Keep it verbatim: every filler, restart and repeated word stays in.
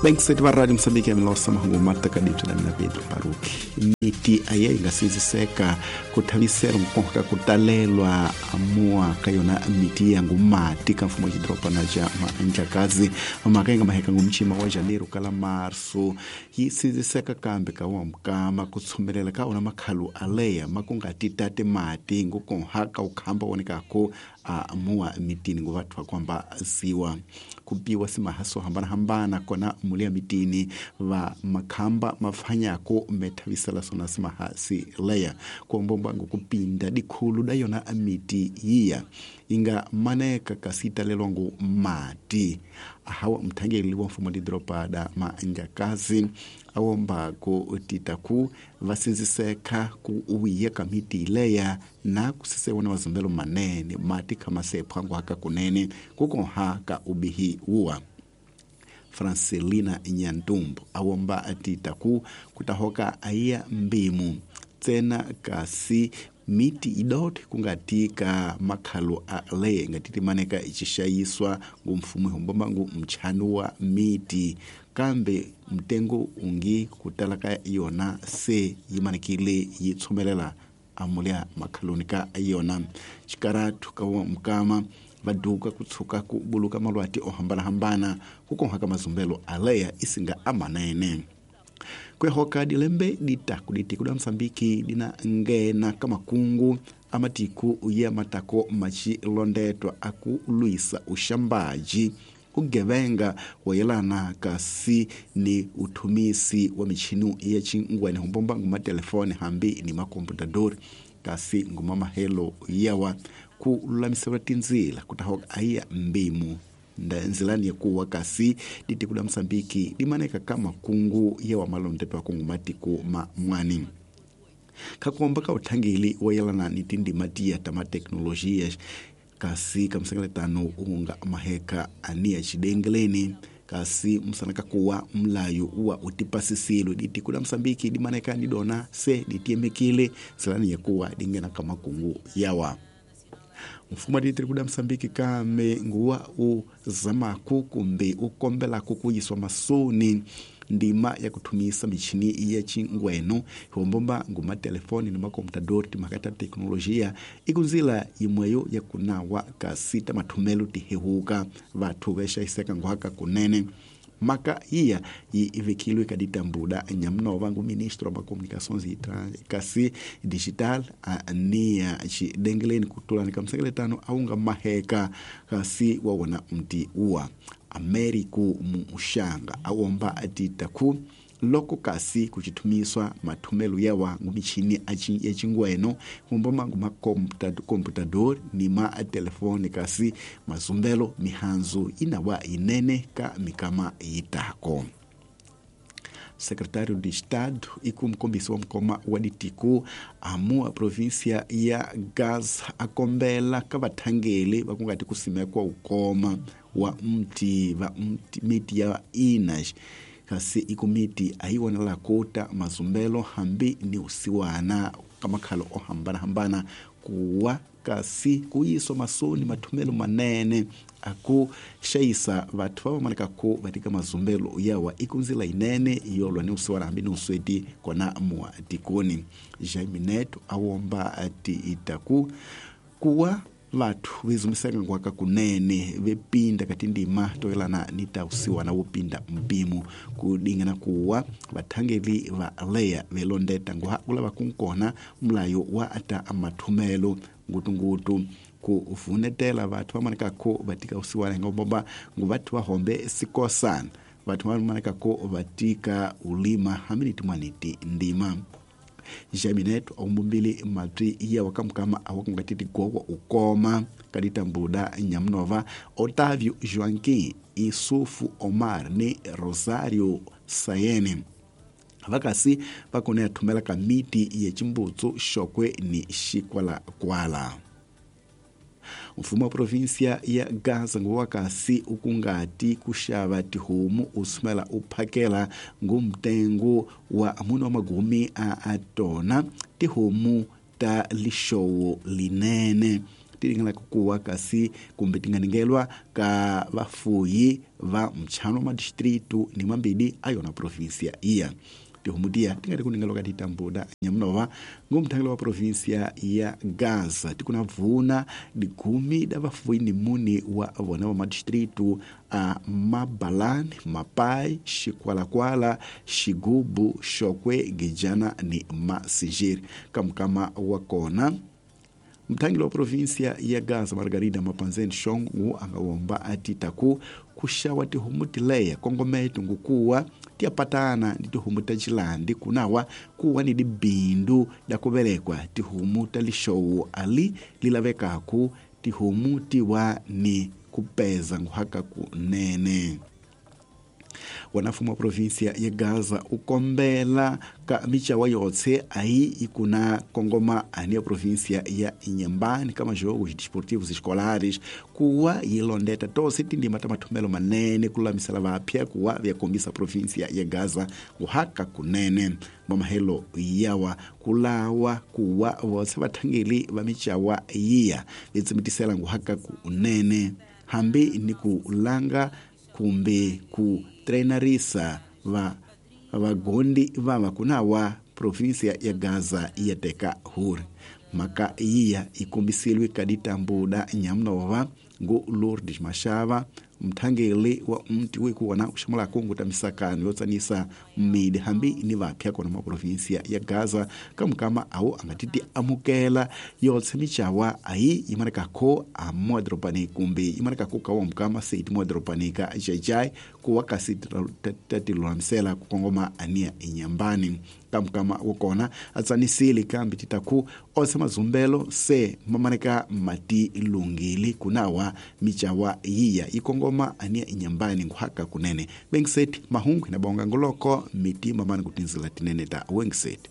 Bengiseti va Radio Mozambique ya Milosa mahungu matakadipyo na mina Pedro Paruki. Miti aye yi nga sindziseka ku thavisela nkoka ku talelwa amua ka yona miti ya ngumati ka mfumo wa xidorobana xa Mandlakazi. Mhaka yi nga maheka ngumchima wa janeiro kala marso yi sindziseka kambe ka wa mukama ku tshumelela ka wona makhalu aleya ma ku nga ti tate mati ngukonha ka ukhamba wonekako a mua mitini ngo vathu va kwamba ziwa kupiwa simahaso hambana-hambana kona muli ya mitini va makhamba mafanyako methavisela sona simahasi leya kuombomba ngokupinda dikhulu da yona miti yiya inga maneka kasi italelwa ngu mati. Ahawa mthangeli wa mfumo didropa da Mandlakazi awomba ku titaku vasinziseka ku uwiya ka miti leya na kusisewona mazumbelo manene mati khamasepha ngwaka kunene kukonha ka ubihi uwa. Francelina Nyantumbo awomba atitaku kutahoka aiya mbimu tsena kasi miti idote kungatika makhalo a le ngatiti maneka ichishayiswa ngumfumo hombomba ngu mchanu wa miti kambe mtengo ungi kutala ka yona se yimanekile yitshumelela amulia makhaloni ka yona xikaratu ka wa mukama vaduka kutsuka ku buluka malwati o hambana-hambana kukonha ka mazumbelo aleya isinga amanene. Kwehoka dilembe ditaku ditiku da Mozambique dina ngena kamakungu amatiku ya matako machilondetwa aku luisa ushambaji ugevenga wayelana kasi ni uthumisi wa michinu ya chingwene humbomba nguma telefone hambi ni makomputadori kasi nguma mahelo yawa ku lulamisela tinzila kutahoka aiya mbimu nzilani ya kuwa kasi ditiku da Mozambique dimaneka kama kungu ya wa malondeto wa kungu matiku ma mwani. Kakuomba ka uthangeli wayelana ni tindima tiya tama teknolojia kasi kamsengeletano unga maheka ania chidengeleni kasi msanaka kuwa mlayo uwa utipasisilo ditiku da Mozambique dimaneka ni dona se ditiemekile nzilani ya kuwa dingena kama kungu yawa. Mfumo wa ditiri kuda Mozambique kame nguwa uzamaku kumbe ukombela kukuyiswa masoni ndima ya kuthumisa michini ya chingweno hombomba nguma telefoni ni makomputadori timakata teknolojia ikunzila imweyo ya kunawa kasita mathumelo tihehuka vathu vexaiseka ngwaka kunene. Maka iya ivikilwe kaditambuda nyamnova ngu ministro wa comunicações e kasi digital ania chidengeleni kutulani kamsengeletano aunga maheka kasi wawona mti uwa Ameriku mushanga awomba atitaku loko kasi kuchitumiswa mathumelo yawa ngumichini ya chingweno kumboma nguma computador ni ma telefone kasi mazumbelo mihanzu inawa inene ka mikama yitako. Secretário de Estado e como comissão mkoma wa ditiku amua província ya Gaza akombela ka vathangeli vakungati kusimekwa ukoma wa mti va mti miti ya inas kasi ikomiti ayiwonela kota mazumbelo hambi ni usiwana kamakhalo o hambana-hambana kuwa kasi kuyiswa masoni mathumelo manene aku xayisa vathu va vamaneka ku vatika mazumbelo yawa ikunzila inene yolwa ni usiwana hambi ni usweti kona mua tikoni. Jaime Neto awomba ati itaku kuwa vathu vezumiseka ngwaka kunene vepinda kati ndima toelana ni ta usiwana wopinda mpimo kudingana kuwa vathangeli va leya velondeta ngwa ulava kunkona mulayo wa ata amathumelo ngutungutu ku vunetela vathu vamaneka ko vatika usiwana ngomba ngu vathu vahombe sikosana vathu vamaneka ko vatika ulima hambi timwaniti ndima. Jaminet aumbumbili matwi iya wakamkama awakungatiti gowa ukoma kaditambuda nyamnova Otávio Joaquim Isufu Omar ni Rosario Sayene vakasi vakone athumela ka miti ya chimbutsu xokwe ni xikwalakwala. Mfumo wa província ya Gaza nguwakasi ukungati kuxava tihomu usumela uphakela ngumtengo wa mune wa magumi a atona tihomu ta lixowo linene ti ringanaka kuwa kasi kumbe ti nga ningelwa ka vafuyi va mchano wa madistritu ni mambili a yona provinsia iya. Tihomu tiya ti nga ri ku ningelwa ka titambuda nyamunova ngomthangelo wa provinsia ya Gaza ti kuna vuna dikumi da vafuyi ni muni wa vona va madistritu a Mabalani, Mapai, Xikwalakwala, Xigubu, Xokwe, Gijana ni Masinjiri. Kamukama wa kona mthangelo wa provinsia ya Gaza Margarida Mapanzeni Shongu a nga womba a ti taku kuxawa tihomu tileya kongometo ngukuwa ti yapatana ni tihomu ta xilandi kunawa kuwa ni dibindu da ku velekwa tihomu ta lixowo ali li lavekaku tihomu tiwa ni kupeza nguhaka kunene. Wanafumu wa provinsia ya Gaza ukombela ka michawa yotse aí ikuna kongoma ani ya provinsia ya Inhambane kama jogos desportivos escolares kuwa yilondeta tose tindima ta mathomelo manene kululamisela vapya kuwa vyakombisa provinsia ya Gaza kuhaka kunene. Mamahelo yawa kulawa kuwa votse vathangeli va michawa yiya vitsimitisela nguhaka kunene hambi ni kulanga kumbe ku treinarisa va vagondi vava kunawa provinsia ya Gaza ya teka huri. Maka iya ikombisiliwe kaditambuda nyamunova ngu Lourdes Mashava mthangeli wa mti wikuona kuxamula kungu ta misakano yo tsanisa mmidi hambi ni vapya kona ma provinsia ya Gaza kamukama awo angatiti amukela yotse michawa ayi imanekako a modropani kumbe imanekako kawa mukama seiti modropanika jajai kuwa kasi tatilulamisela kukongoma ania inyambani. Kamukama wokona atsanisile kambi titaku ose mazumbelo se mamaneka mati lungili kunawa michawa yiya ikongoma ania inyambani nguhaka kunene. Wengiseti mahungu inabonga ngoloko miti mamani kutinzila tinene ta wengiseti.